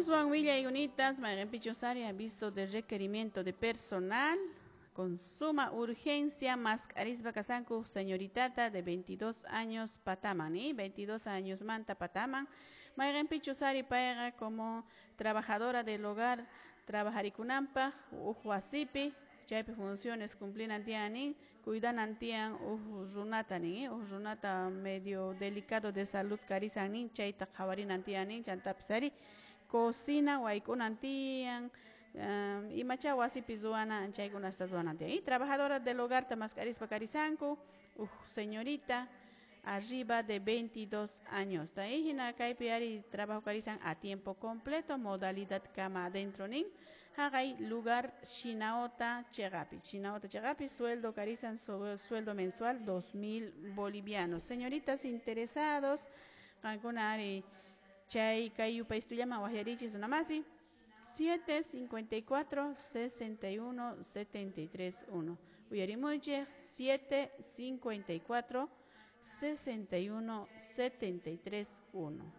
Aswan willaykunitas mayqinpichus ari aviso de requerimiento de personal con suma urgencia mask'arispa kasanku señoritata de 22 años pataman, 22 años manta pataman, mayqinpichus ari payqa como trabajadora del hogar trabajarikunanpaq huk wasipi, chaypi funciones cumplinan tiyan nin, cuidanan tiyan huk runata nin, huk runata medio delicado de salud karisan nin, chayta qhawarinan tiyan nin, chantapis ari cocina wayk'unan tiyan, imacha wasipi ruwana chaykunasta ruwanan tiyan. Y trabajadora del hogar ta mask'arispa karisanku huk señorita arriba de 22 años. Ta hina kaypi ari trabajo karisan a tiempo completo, modalidad cama adentro nin, haqay lugar Shinaota chiqapi. Shinaota chiqapi sueldo karisan sueldo mensual 2000 bolivianos. Señoritas interesados, qankuna ari chay kay yupaystullaman waqyarichis runamasi 7 54 61 73 1. Uyarimuychik 7 54 61 73 1.